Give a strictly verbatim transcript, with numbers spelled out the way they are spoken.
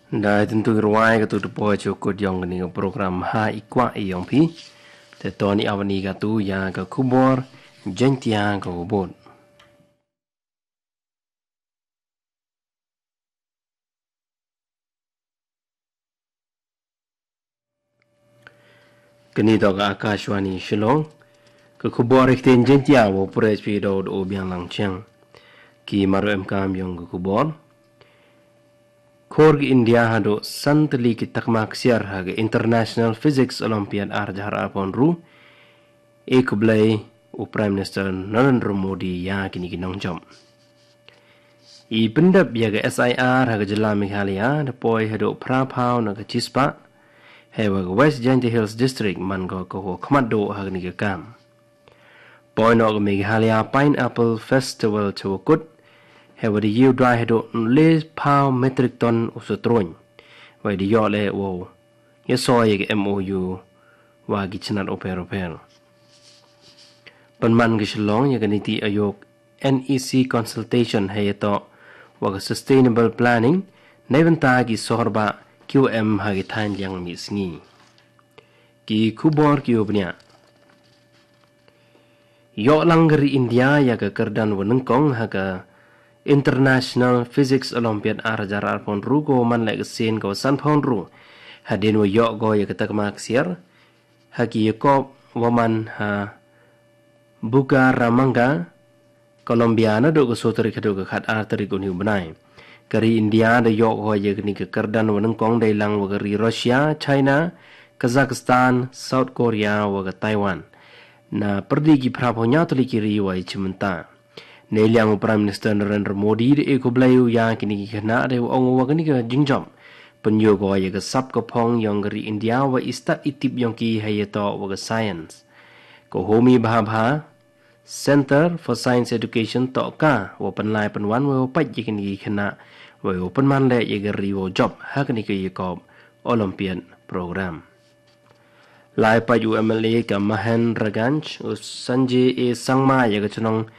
Dei tyntu rwai katu te poi sha u kut jong kane ka program ha i kwah i yong phi. Te to ni awani katu ïa ka khubor Jaiñtia ka bud. Kane to ka Akashvani Shillong. Ka khubor ha ktien Jaiñtia, u pyrshah phi da u Biang Lang Chiang. Ki mar ruh em kam yong ka khubor. Khor ka India haduh san tylli ki takma ksiar ha ka International Physics Olympiad ar hajar arphew hynriew. E khublei u Prime Minister Narendra Modi ïa kine ki nongjop. I pyndep ïa ka S I R ha ka jylla Meghalaya da poi haduh phra phew na ka shispah. Hei wa ka West Jaintia Hills District man ko ka wa khmat duh ha kane ka kam. Poi noh ka Meghalaya Pineapple Festival sha wa kut. Hei wa da ïew dwai haduh le phew metric ton u satrun. Wa da ïoh leh wow ïa soi ïa ka M O U wa ki chnat u pher u pher. Pynman ka Shillong ïa ka NITI Aayog N E C consultation hei ïa to wa ka sustainable planning. Nei bynta ki sohor ba ki wa em ha ki thain liang mi sngi. Ki khubor ki wa bniah. Ïoh lang ka ri India ïa ka kyrdan wa nyngkong ha ka International Physics Olympiad ar hajar arphew hynriew ko man leh ka sien ka wa sanphew hynriew. Hadien wa ïoh ko ïa ka takma ksiar ha ki ïa kop wa man ha Bucaramanga, Colombia naduh ka soo tarik haduh ka khat ar tarik u ni u bnai. Ka ri India da ïoh ko ïa kane ka kyrdan wa nyngkong dei lang wa ka ri Russia, China, Kazakhstan, South Korea wa ka Taiwan. Na pyrdi ki phra phew hynñiew tylli ki ri wa i chim mynta. Nei liang u Prime Minister Narendra Modi da e khublei u ïa kine ki khynnah da u ong u wa kane ka jingjop pynïoh ko ïa ka sap ka phong yong ka ri India wa i stad i tip yong ki hei ïa to wa ka science. Ka Homi Bhabha Center for Science Education to ka wa pynlai pynwan wa wa pait ïa kine ki khynnah wa wa pynman leh ïa ka ri wa jop ha kane ka ïa kop Olympiad program. Lai pait u M L A ka Mahendraganj u Sanjay A Sangma ïa ka chnong